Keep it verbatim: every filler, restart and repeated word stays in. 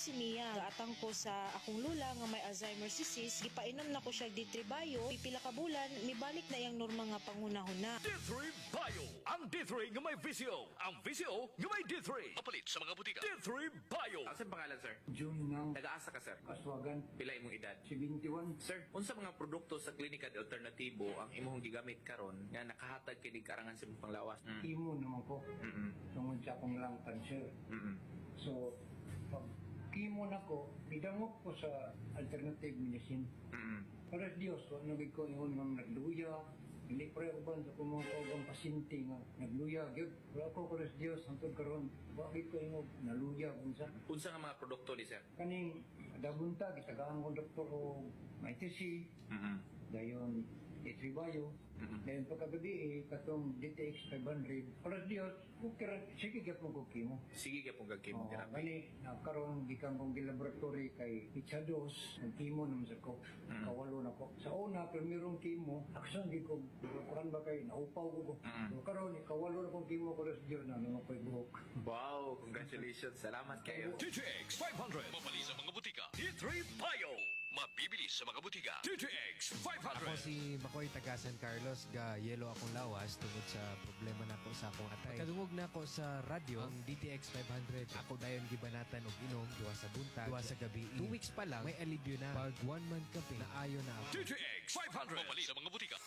si Mia. Gaatang ko sa akong lula nga may Alzheimer's disease, gipainom na ko siya D three Bio, pipila ka bulan, mibalik na iyang normal nga panghunahuna. D three Bio. Ang D three nga may V C O. Ang V C O nga may D three. Mapalit sa mga butika. D three Bio. Ang sa pangalan, sir? June ng Nagaasa ka, sir? Kaswagan. Pila imong edad? seventy-one. Sir, unsa mga produkto sa Klinika de Alternatibo ang imong gigamit karon nga nakahatag kini karangan sa imong panglawas? Mm. Chemo naman ko. Mm. Tungod sa akong lung cancer. Mm. So, pag chemo na ko, gidangop ko sa alternative medicine. Mm. Para sa Diyos, wa na ko ingon nga nagluya. Hindi pa ako ba sa akong mga kauban pasyente nga nagluya. Gyud. Wala ko, para sa Diyos, hangtod karon, wa gyud ko ingon naluya kung sa. Unsa nga mga produkto ni, sir? Kaning dagunta, gitagaan ko doktor og M I T C, Mm. dayon D three Bio. Mm-mm. Dayon pagkagabi eh, katong D T X five hundred. Para sa Diyos, okay ra, sige gyapon ko chemo. Sige gyapon kag Oo, chemotherapy. gani, na karon gikan kong gilaboratory kay petsa dos, ang chemo naman sa ko. Mm. Kawalo na ko. Sa una, primerong chemo, aksan gi ko, kuan ba kay naupaw ko ko. Mm. So, karon kawalo na kong chemo ko sa Diyos na nang ako'y buhok. Wow, congratulations. Salamat kayo. D T X five hundred. Mapali sa mga butika. D three Bio. Mabibili sa mga butika. D T X five hundred. Ako si Makoy, taga San Carlos, ga yelo akong lawas tungod sa problema nako sa akong atay. Pagkadungog nako sa radyo, ang D T X five hundred, ako dayon gibanatan og inom, duha sa buntag, duha sa gabi. Two weeks pa lang, may alibyo na. Pag one month kape, naayo na ako. D T X five hundred. Mapali sa mga butika.